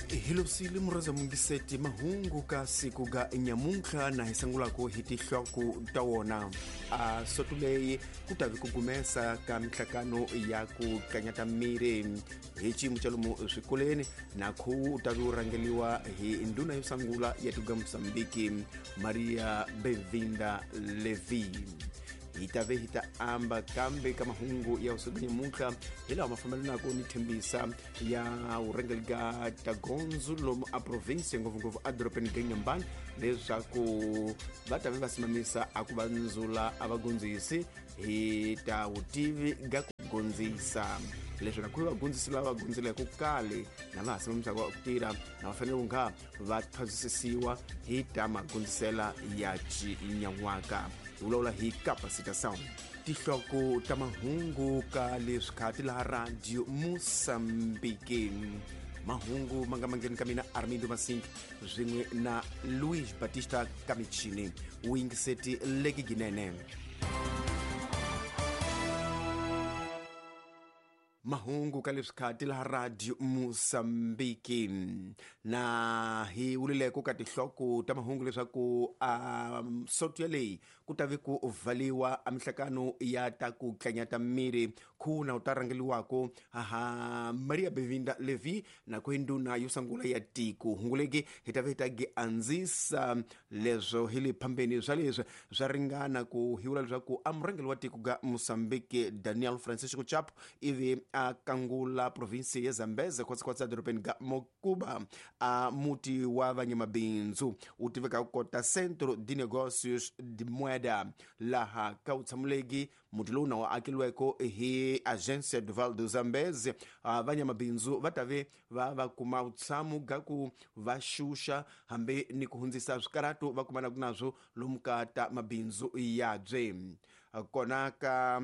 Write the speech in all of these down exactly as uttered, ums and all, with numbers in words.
Hilosile muraza mungiseti mahungu ka siku ga nyamuntlha na hi sangulako hi tihloko ta wona. A sotuleyi ku tavi ku gumesa ka mihlakano ya ku kanyata miri hi xiyimo xa lomu swikolweni na khuwu u tavi wu rhangeliwa hi ndhuna yo sangula ya tiko ra Mozambique Maria Benvinda Levi. Hi tave hi ta amba kambe ka mahungu ya usiku nyamuntlha hi lawa ma fambelanaka ni thembisa ya vurhangeri ga tagondzo lomu a province ngopfungopfu edorobeni ga Inhambane leswaku va tave va simamisa a ku va ndzula a va gondzisi hi ta vutivi ga ku gondzisa leswi na ku va gondzisi lava va gondzileke kale na va ha simamisaka ku tirha na va fanele ku nga va thwasisiwa hi ta magondzisela ya xinyan'waka. Hi vulavula hi capacitação. Tihloko ta mahungu ka leswi khati laha Radio Mozambique. Mahungu ma nga mangheni ka mina Armindo Masink swin'we na Luis Batista Kamichini. U yingiseti leki ginene. Mahungu ka leswi khati laha Radio Mozambique. Na hi vulileko ka tihloko ta mahungu leswaku a soto yaleyi ku tavi ku valiwa a mihlakano ya ta ku tlanyata miri khuna u ta rhangeliwako aha Maria Benvinda Levi na ku ndhuna yo sungula ya tiko. Hunguleki hi ta vi hi ta gi andzisa leswo hi le phambeni swa leswi swa ringana ku hi vula leswaku a murhangeri wa tiko ga Mozambique Daniel Francisco Chapo ivi a kangula provinsi ya Zambeze khotsekhotse edorobeni ga Mocuba a muti wa vanyamabindzu wu tiveka ku kota Centro de Negócios de Moeda laha ka wutshamuleki muti lowu na wu akeliweko hi Agência do Vale do Zambeze. Vanyamabindzu va tave va va kuma vutshamo ga ku va xuxa hambi ni ku hundzisa swikaratu va kumanaka nazwo lomu ka ta mabindzu yabye. Kona ka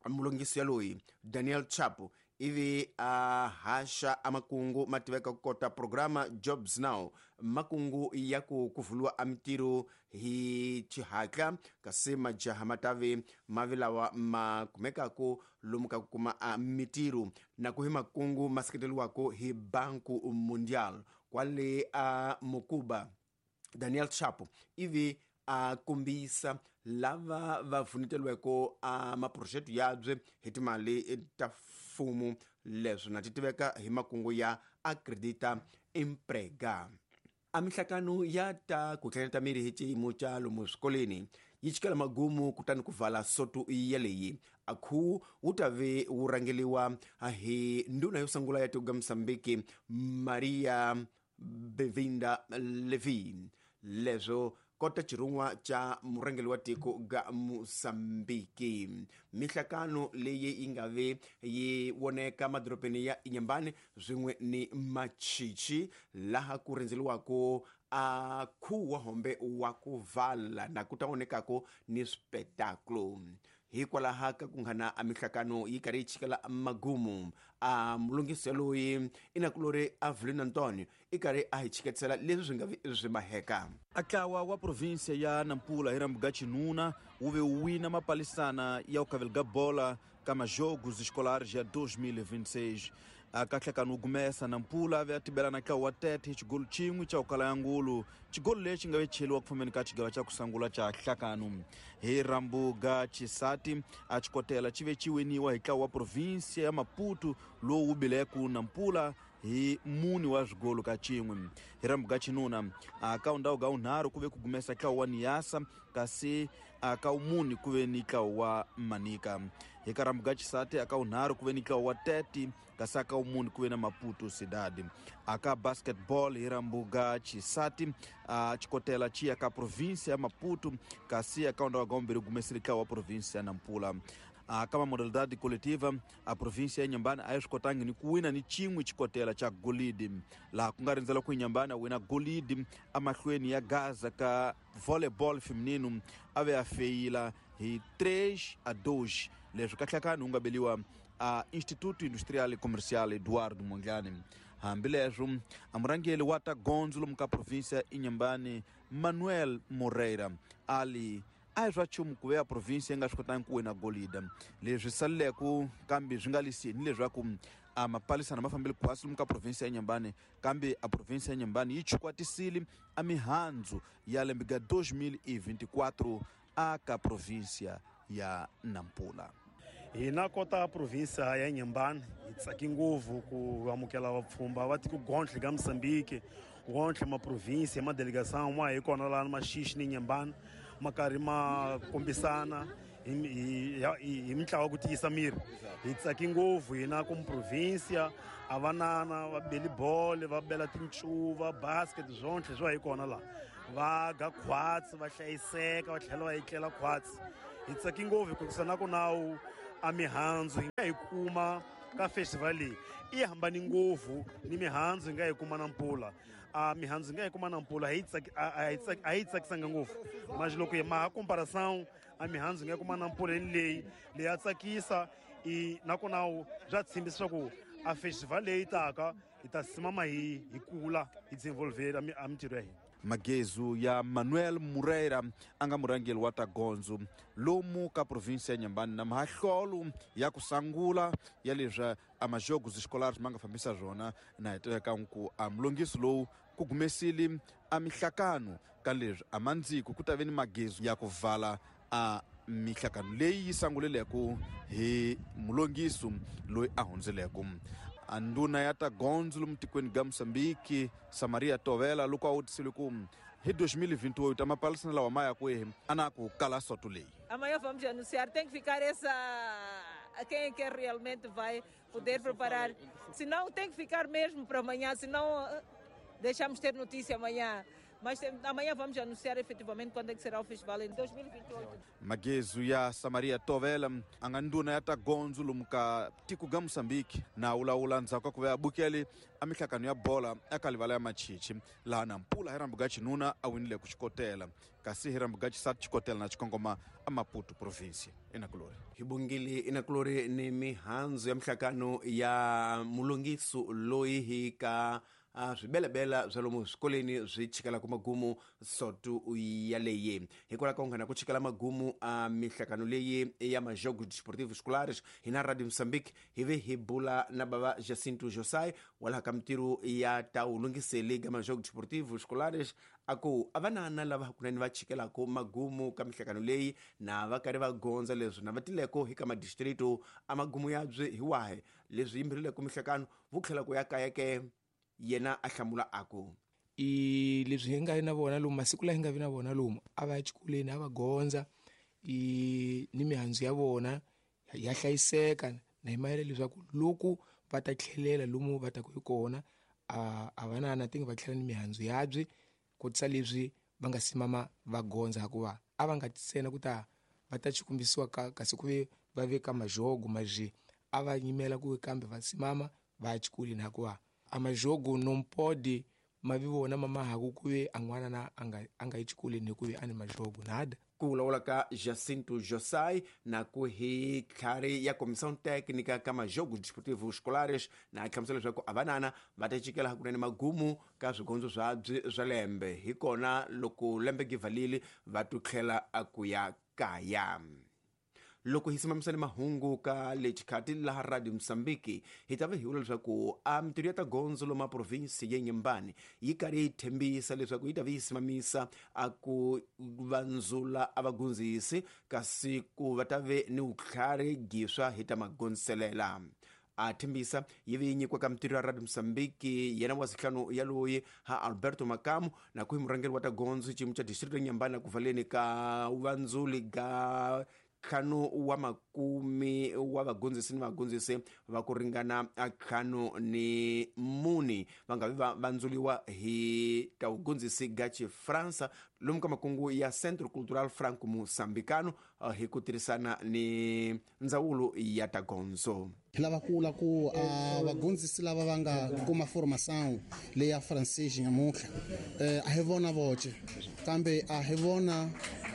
mulongisi yaloyi Daniel Chapo ivi a haxa amakungu ma tiveka ku kota programa Jobs Now, makungu ya ku kuvuliwa a mitirho hi xihatla kasi majaha ma tave mavi lawa ma kumekaka lomu ka ku kuma a mitirho na ku hi makungu ma seketeriwaka hi Banco Mundial kwale a Mocuba. Daniel Chapo ivi a kombisa lava va pfuneteliweko a maphurojete yabye hi timali ta mfumo leswi na ti tiveka hi makungu ya Acredita Emprega. A mihlakano ya ta ku tlanyata miri hi xiyimo xa lomu swikolweni yi chikela magumu kutani ku vala soto yaleyi. A khuwu wu ta ve wu rhangeliwa hi ndhuna yo sungula ya tiko ra Mozambique Maria Benvinda Levi. Leswo kota xirhun'wa xa murhangeri wa tiko ga Mozambique. Mihlakano leyi yi nga ve yi voneka madorobeni ya Inhambane swin'we ni Machichi laha ku rindzeliwaka a khuwu wa hombe wa ku vala na ku ta vonekaka ni swipetakulo. Hikwalaho ka ku nghana a mihlakano yi karhi yi chikela magumu a mulungisi loyi i nakulori Avelino Antonio i karhi a hi chiketisela leswi swi nga swi maheka. A ntlawa wa provinsia ya Nampula hi rambu ga Chinuna wu ve wu wina mapalisana ya ku kavela ga bola ka majogos escolares ya dois mil e vinte e seis. A kahlekano wu gumesa Nampula ve a tibela na ntlawa wa Tete hi xigolo xin'we xa ku kala ya ngulu, xigolo lexi nga ve cheliwa ku fambeni ka xigava xa ku sungula xa hlakano. Hi rambu ga Chisati a xikotela xi ve xi winiwa hi ntlawa wa provinsia ya Maputo lowu wu bileku Nampula hi mune wa swigolo ka xin'we. Hi rambu ga Chinuna a ka ndhawu ga wunharhu ku ve ku gumesa ntlawa wa Niassa kasi a ka wumune ku ve ni ntlawa wa Manica. Hi ka rambu ga Chisati a ka wunharhu ku ve ni ntlawa wa Tete kasi a ka wumune ku ve na Maputo Cidade. A ka basketball hi rambu ga Chisati a xikotela xi ya ka provinsia ya Maputo kasi a ka ndhawu ga wumbirhi gumesile ntlawa wa provinsia ya Nampula. A ka modalidade coletiva a província ya Inhambane a yi swi kotangi ni ku wina ni xin'we xikotela xa golidi, laha ku nga rindzela ku Inhambane a wina golidi emahlweni ya Gaza ka volleyball feminino a ve a feyila hi três a dois. Leswi kahlekani wu nga beliwa a Instituto Industrial e Comercial Eduardo Mondlane. Hambileswo a murhangeri wa ta gondzo lomu ka província Inhambane Manuel Moreira ali a hi swa nchumu ku ve ya province yi nga swi kotangi ku wina golida. Leswi saleleke kambe swi nga liseni leswaku a mapalisana ma fambile khwasi lomu ka provinsi ya Inhambane kambe a provinsi ya Inhambane yi chukwatisile a mihandzu ya lembe ga dois mil e vinte e quatro a ka provinsia ya Nampula. Hina kota provinsia ya Inhambane hi tsaki ngopfu ku amukela vapfhumba va tiko gontlhe ka Mozambique, gontlhe ma provinsia ma delegação ma hi kona laha Maxixi ni Inhambane ma karhi ma kombisana hi hi mintlawa ku tiyisa miri. Hi tsaki ngopfu hina ku provinsia a vanana va beli bolo, va bela tincuva, basket, swontlhe swa hi kona laha va ga khwatsi, va hlayiseka, va tlhela va etlela khwatsi. Hi tsaki ngopfu hikuva na ku nawu a mihandzu hi nga hi kuma ka festival leyi i hambani ngopfu ni mihandzu hi nga hi kuma Nampula. A mihandzu hi nga hi kuma Nampula a yi tsaki a yi tsakisanga ngopfu, mas loko hi maha comparação a mihandzu hi nga kuma Nampula ni leyi leyi ya tsakisa i nakona bya tshembisa swa ku a festival leyi taka hi ta simama hi hi kula hi desenvolver a mintirho ya hina. Magezu ya Manuel Moreira a nga murhangeri wa ta gondzo lomu ka provinsi ya Inhambane na mahlolo ya ku sangula ya leswi a majogos escolares ma nga fambisa swona na hi tiveka ku a mulongiso lowu ku gumesile a mihlakano ka leswi a mandziko ku ta ve ni magezu ya ku vala a mihlakano leyi yi sanguleleko hi mulongiso loyi a hundzeleko. A nduna ya ta gondzo lomu tikweni ga Mozambique Samaria Tovela loko a vutisile ku hi dois mil e vinte e oito a mapalisana lawa ma ya kwihi a na ku kala soto leyi. Amanhã vamos anunciar, tem que ficar essa quem é que realmente vai poder preparar, senão tem que ficar mesmo para amanhã, senão deixamos ter notícia amanhã. Mas amanhã vamos anunciar efetivamente quando é que será o festival em dois mil e vinte e oito. Magezu ya Samaria Tovela a nga nduna ya ta gondzo lomu ka tiko ga Mozambique na wulawula ndzhaku ka ku va ya bukele a mihlakano ya bola eka livala ya Machichi laha Nampula hi rambu ga xinuna a winile ku xikotela kasi hi rambu ga xisati xikotela na xikongoma a Maputo province enakulori. Hi bongile enakulori ni mihandzu ya mihlakano ya mulongiso loyi hi ka a swibelebela swa lomu swikolweni swi chikelaka magumu sotu yaleyi. Hikwalaho ka ku nghena ku chikela magumu a mihlakano leyi ya majogos desportivos escolares hina Radio Mozambique hi ve hi bula na bava Jacinto Josai walaha ka mintirho ya ta wulungiseli ka majogos desportivos escolares a ku a vanana lava hakunene va chikelaka magumu ka mihlakano leyi na va karhi va gondza leswi na va tileko hi ka madistrito a magumu yabyi hi wahi leswi yimberileko mihlakano vu tlhela ku ya kaya ke. Yena a hlamula a ku i leswi hi nga na vona lomu masiku laha hi nga vi na vona lomu a va ya xikolweni a va gondza i ni mihandzu ya vona ya hlayiseka na hi mayela leswaku loko va ta tlhelela lomu va taku hi kona a a va na na tingi va tlhela ni mihandzu yabyi kotisa leswi va nga simama va gondza hikuva a va nga tsena ku ta va ta xikombisiwa ka kasi ku ve va veka majogo maji a va yimela ku kambe va simama va ya xikolweni hikuva a majogo não pode ma vi vona mama haku ku ve a n'wana na a nga a nga yi xikolweni hikuva a ni majogo nada. Ku vulavula ka Jacinto Josai na ku hi tlhari ya comissão técnica ka majogos desportivos escolares na hlamusela leswaku a vanana va ta chikela hakunene magumu ka swigondzo swabyi swa lembe hi kona loko lembe givalile va tu tlhela a ku ya kaya. Loko hi simamisane mahungu ka lexikati laha Radio Mozambique hi ta va hi vula leswaku a mintirho ya ta gondzo loma provinsi ya Inhambane yi karhi yi tshembisa leswaku yi ta va yi simamisa a ku vandzula a vagondzisi kasi ku va ta ve ni vutlhari giswa hi ta magondziselela. A tshembisa yi ve yi nyikiwa ka mintirho ya Radio Mozambique yena wa sihlanu ya loyi ha Alberto Makamu na ku hi murhangeri wa ta gondzo xiyimo xa district ya Inhambane ku valeni ka vandzuli ga ntlhanu wa makumi wa vagondzisi ni vagondzisi va ku ringana ntlhanu ni muni va nga vi va vandzuliwa hi ta vugondzisi ga Xifransa lomu ka makungu ya Centro Cultural Franco Moçambicano hi ku tirhisana ni ndzawulo ya ta gondzo. Hi lava ku vula ku a vagondzisi lava va nga kuma formação leyi ya francês nyamuntlha a hi vona voce kambe a hi vona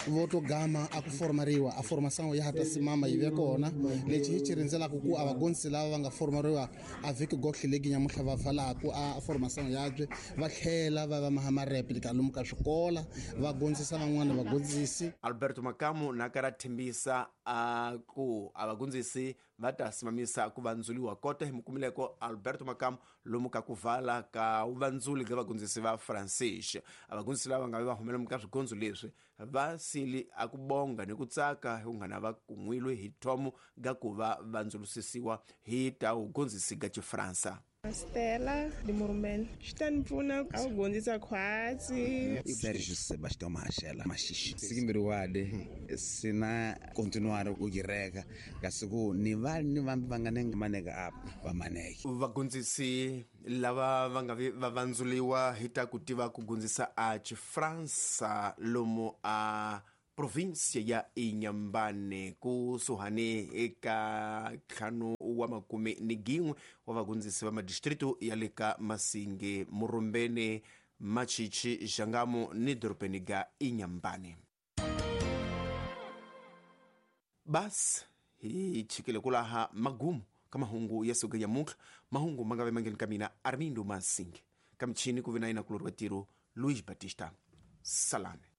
vo to gama a ku formariwa a formação ya ha ta simama yi ve kona lexi hi xi rindzelaka ku a vagondzisi lava va nga formariwa a vhiki gohle legi nyamuntlha va pfalaku a formação yabye va tlhela va va maha mareplika lomu ka swikola va gondzisa van'wana vagondzisi. Alberto Makamu na karhi a tshembisa a ku a vagondzisi va ta simamisa ku vandzuliwa kota hi mukumileko Alberto Makamu lomu ka ku vala ka vandzuli ka vagondzisi va Francais. A vagondzisi lava nga va humela ka swigondzo leswi va sili a ku bonga ni ku tsaka hi kunghana va kun'wilwe hi thomo ga ku va vandzulusisiwa hi ta ugondzisi ga Xifransa. Stella de Morumeni xi ta ni pfuna a ku gondzisa khwatsi. Sergio Sebastião Machela Maxixe sikimbiriwade sina continuar ku gireka kasi ku ni va ni vambi va nga nenge maneka apa va maneke. Vagondzisi lava va nga va vandzuliwa hi ta ku tiva ku gondzisa a Xifransa lomu a provinsia ya Inhambane kusuhani eka ntlhanu wa makume ni gin'we wa vagondzisi va madistritu ya le ka Masinge, Murumbeni, Machichi, Xangamu ni dorobeni ga Inhambane. Basi hi chikile kulaha magumu ka mahungu ya suka ya muntlha, mahungu ma nga ve mangeni ka mina Armindo Masinge, ka michini ku vi na yina kulori wa tiro Luiz Batista. Salame.